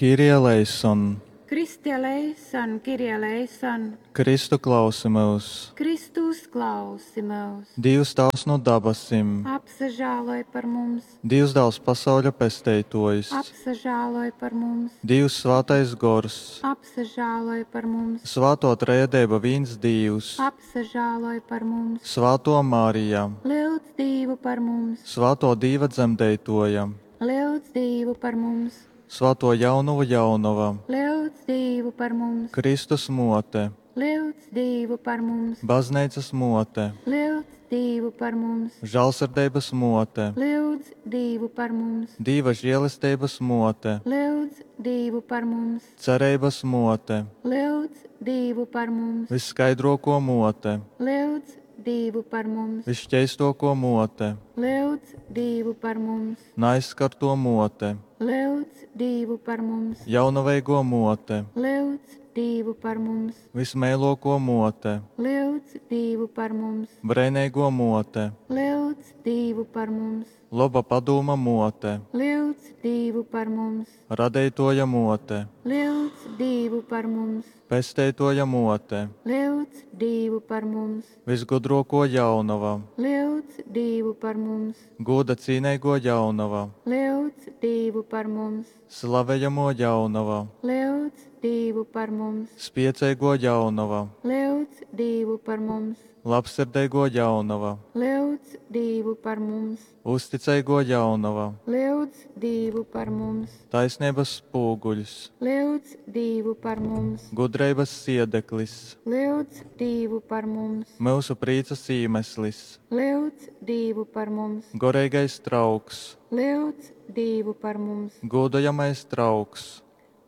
Kyrie eleison! Christe eleison, Kyrie eleison! Kristu klausi myus! Kristu uzklausi myus! Dīvs Tāvs nu dabasim. Apsažāloj par mums! Dīvs Dāls pasauļa Pesteitōjs. Apsažāloj par mums! Dīvs Svātais Gors. Apsažāloj par mums! Svātō Trejadeiba vīns Dīvs. Apsažāloj par mums! Svātō Marija. Lyudz Dīvu par mums! Svātō Dīva Dzemdeitōja. Lyudz Dīvu par mums! Svātō Jaunovu Jaunova. Lyudz Dīvu par mums! Kristus Mōte. Lyudz Dīvu par mums! Bazneicas Mōte. Lyudz Dīvu par mums! Žālsirdeibas Mōte. Lyudz Dīvu par mums! Dīva želesteibas Mōte. Lyudz Dīvu par mums! Cereibas Mōte. Lyudz Dīvu par mums! Vysskaidrōkō Mōte. Lyudz Dīvu par mums! Vysškeistōkō Mōte. Lyudz Dīvu par mums! Naaizskartō Mōte. Lyudz Dīvu par mums! Jaunoveigō Mōte. Lyudz Dīvu par mums! Vysmeilōkō Mōte. Lyudz Dīvu par mums! Breineigō Mōte. Lyudz Dīvu par mums! Loba Padūma Mōte. Lyudz Dīvu par mums! Radeitōja Mōte. Lyudz Dīvu par mums! Pesteitōja Mōte. Lyudz Dīvu par mums! Vysgudrōkō Jaunova. Lyudz Dīvu par mums! Gūda cīneigō Jaunova. Lyudz Dīvu par mums! Slavejamō Jaunova. Lyudz Dīvu par mums! Spieceigō Jaunova. Lyudz Dīvu par mums! Labsirdeigō Jaunova. Lyudz Dīvu par mums! Uzticeigō Jaunova. Lyudz Dīvu par mums! Taisneibas spūguļs. Lyudz Dīvu par mums! Gudreibas siedeklis. Lyudz Dīvu par mums! Myusu prīcas īmeslis. Lyudz Dīvu par mums! Goreigais trauks. Lyudz Dīvu par mums! Gūdojamais trauks.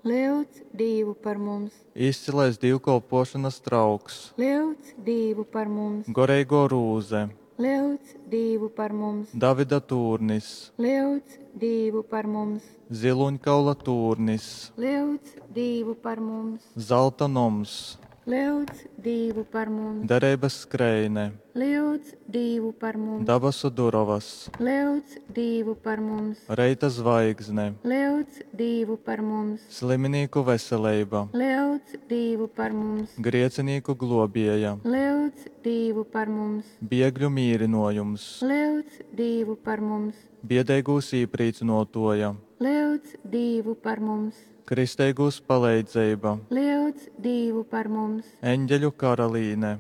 Lyudz Dīvu par mums! Izcylais dīvkolpōšonas trauks. Lyudz Dīvu par mums! Goreigō rūze. Lyudz Dīvu par mums! Davida tūrnis. Lyudz Dīvu par mums! Zylūņkaula tūrnis. Lyudz Dīvu par mums! Zalta noms. Lyudz Dīvu par mums! Dereibas skreine. Lyudz Dīvu par mums! Dabasu durovas. Lyudz Dīvu par mums! Reita zvaigzne. Lyudz Dīvu par mums! Sliminīku veseleiba. Lyudz Dīvu par mums! Griecinīku globieja. Lyudz Dīvu par mums! Biegļu mīrynōjums. Lyudz Dīvu par mums! Biedeigūs īprīcynōtōja. Lyudz Dīvu par mums! Kristeigūs paleidzeiba. Lyudz Dīvu par mums! Eņgeļu karalīne.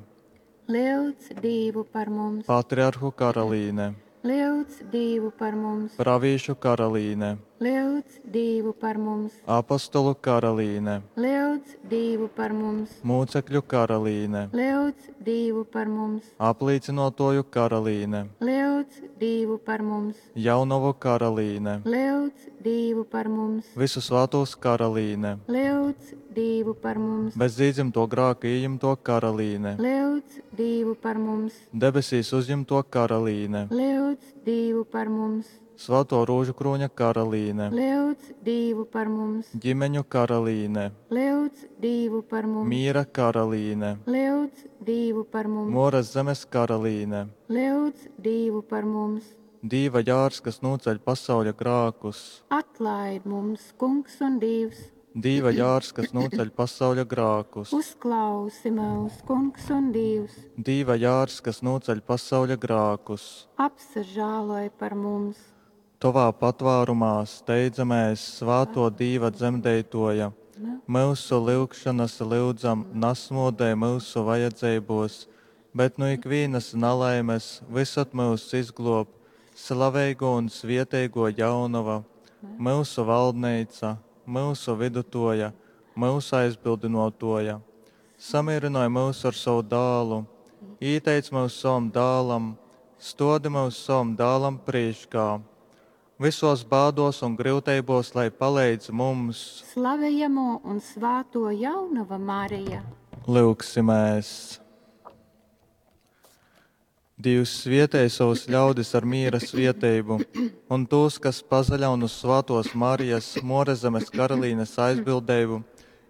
Lyudz Dīvu par mums! Patriarhu karalīne. Lyudz Dīvu par mums! Pravīšu karalīne. Lyudz Dīvu par mums! Apostolu karalīne. Lyudz Dīvu par mums! Mūcekļu karalīne. Lyudz Dīvu par mums! Aplīcynōtōju karalīne. Lyudz Dīvu par mums! Jaunovu karalīne. Lyudz Dīvu par mums! Vysu svātūs karalīne. Lyudz Dīvu par mums! Bez īdzymtō grāka ījimtō karalīne. Lyudz Dīvu par mums! Debesīs uzjimtō karalīne. Lyudz Dīvu par mums! Svātō Rūžukrūņa karalīne. Lyudz Dīvu par mums! Ģimeņu karalīne. Lyudz Dīvu par mums! Mīra karalīne. Lyudz Dīvu par mums! Mōras zemes karalīne. Lyudz Dīvu par mums! Dīva jārs, kas nūceļ pasauļa grākus. Atlaid mums, Kungs un Dīvs! Dīva jārs, kas nūceļ pasauļa grākus. Uzklausi myus, Kungs un Dīvs! Dīva jārs, kas nūceļ pasauļa grākus. Apsažāloj par mums! Tovā patvārumā steidzamēs, svātō Dīva Dzemdeitōja. Myusu lyugšonas, lyudzam, nasmōdej myusu vajadzeibōs, bet nu ikvīnas nalaimes vysod myus izglōb, slaveigō un svieteigō Jaunova, myusu valdneica, myusu vydutōja, myusu aizbildynōtōja. Samīrynoj myus ar sovu Dālu, īteic myus sovam Dālam, stōdi myus sovam Dālam prīškā. Vysōs bādōs un gryuteibōs lai paleidz mums. Slavejamō un svātō Jaunova Marija. Lyugsimēs! Dīvs svietej savus ļaudis ar mīra svieteibu, un tūs, kas pasaļaun uz svātōs Marijas, Muorazemes karalīnes aizbildeibu,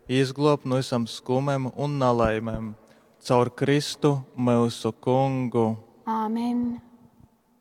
izgluob nu visam skumem un nalaimem. Caur Kristu myusu Kungu. Āmen!